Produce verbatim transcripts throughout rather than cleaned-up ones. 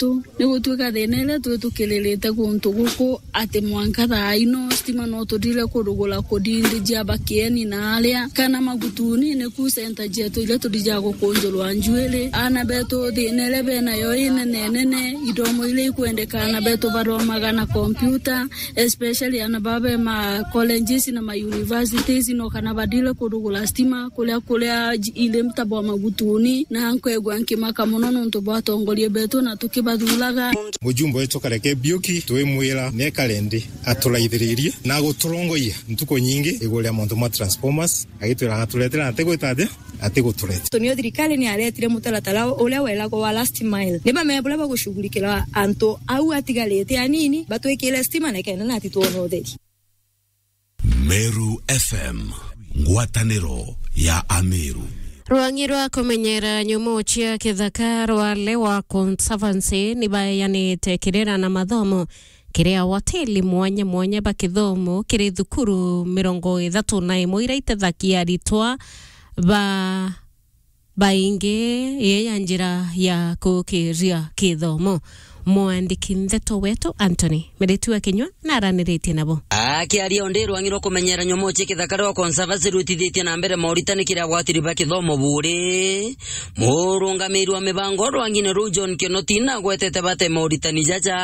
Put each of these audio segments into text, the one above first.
yetu. Ni gutuika thina iria twi tukiririte guntu guku, ati mwanka thaa ino stima no tuthire kurugura kudindijia Bakieni na aria, kana Magutuni, ni ku center cietu iria tuthija gukunjurwa njuiri. Aana betu thina iria benayo inene nene, ithomo iria ikwendeka aana betu bathomaga na computer, especially aana baba be ma colleges na ma universities, no kana bathire kurugura stima kuria, kuria ji-, iri mtabwa Magutuni, na nkwigua nkimaka mono nontu bwa atongoria betu na tukibathuraga. Mujumbe wetu Kareke Biuki, twimwira nekare nthi aturaithiririe na guturongoia ntuku nyingi iguru ria mauntu ma transformers, agitwira agaturetera na atigwita atia, atigutureta. Tontu niyo thirikari ni yaretire mutaratara uria weragwa wa last mile. Ni bamea buria bagushughulikira antu au atigarite anini, batwikire stima na kenda nati twona utheri. Meru F M, ngwataniro ya Ameru. Rwang'i rwa kumenyera nyomo cia kithaka rwa Lewa Conservancy ni baeanite kirira na mathomo kiri awateli mwanya mwanya ba kithomo kiri thukuru mirongo ithatu na imwe iria itethagia aritwa ba baingi ii ya njira ya kukiria kithomo. Mwandiki ndeto wetu Anthony Miritu wa Kinyua naraniritie nabo. Akiaria o ndi rwang'i rwa kumenyera nyomo cia kithaka rwa Conservancy rwitithitie na mbere moritani kiri agwatiri ba kithomo buri, murungamiri wa mibango rwang'ine ruu John Kinoti nagwetete bate moritani jaja.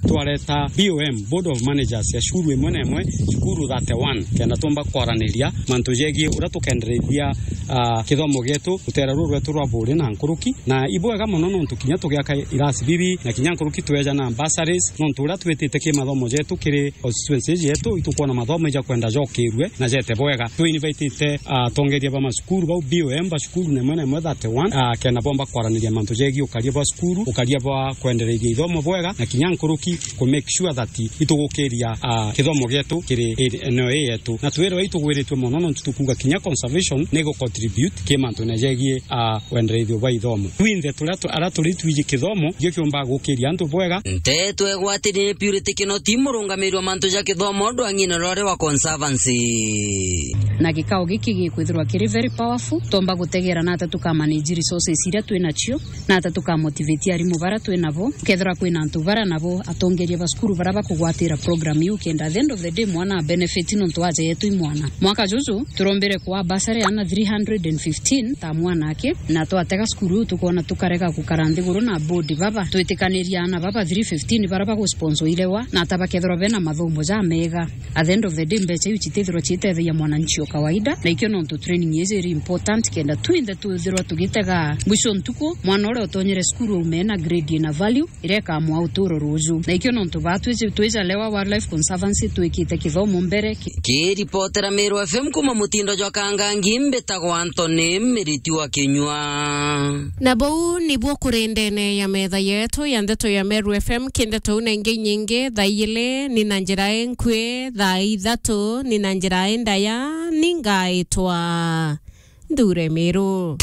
Twareta B O M, Board of Managers ya cukuru imwe na imwe, cukuru thirty-one, kenda tumba kwaraniria mantu jegie uria tukendereithia, ah, kithomo gietu rutera ruru rwetu rwa buri na nkuruki. Na ibwega mono nontu kinya tugiaka irasi bibi na kinya nkuruki tweja na bursaries, nontu uria twitite ki mathomo jetu kiri constituency yetu, itukwona mathomo ija kwenda jokirue na jete bwega. Twi invitite, ah, atongeria ba macukuru bau B O M ba cukuru na imwe na imwe thirty-one, ah, kenda bomba kwaraniria mantu jegie ukaria bwa cukuru, ukaria bwa kwendereithia ithomo bwega, na kinya nkuruki ku make sure that itugukiria, ah, kithomo gietu kiri i-, eneo ii yetu. Na twirwa itugwiritue mono nontu tukuuga kinya conservation ni gu contribute ki mantune jegie, ah, wendereithio bwa ithomo. Twinthe turia tu-, aria turi twiji kithomo, ikio kiumba gukiria antu bwega. Nteto egwatiri ni Purity Kinoti, murungamiri wa mantu ja kithomo ndwang'ine rwari wa Conservancy. Na gikao giki gikwithirwa kiri very powerful, tomba gutegera nata tukamanage resources iria twi nacio, nata tukamotivate arimu bara twi nabo, kethira kwina antu bara nabo atongeria ba cukuru bara bakugwatira program iu, kenda at the end of the day mwana a benefit nontu aja yetu i mwana. Mwaka juju turombire kwa bursary ana three hundred and fifteen ta mwana aki, na twatega cukuru iu tukona tukarega gukara nthiguru na board baba twitikaniria ana baba three fifteen bara bagusponsoirewa na ata bakethirwa bena mathomo ja mega. At the end of the day, mbeca iu citithirwa citethagia mwananchi o kawaida, na ikio nontu training iji iri important kenda twinthe twithirwa tugitega mwisho ntuku, mwana uria utonyere cukuru aume na grade ina value iria ikamwaa uturo ruju. Na ikio nontu baa twiji-, twija Lewa Wildlife Conservancy twikite kithomo mbere ki- Kiripotera Meru F M kuma mutindo jwa Kangangi, mbitagwa Anthony Miriti wa Kinyua. Na buu nibuo kuri ndene ya metha yetu ya ndeto ya Meru F M, ki ndeto u na ingi nyingi, thaa ijiri ni na njira inkui, thaa ithatu ni na njira indaya, ni ngaitwa Nthure Miru.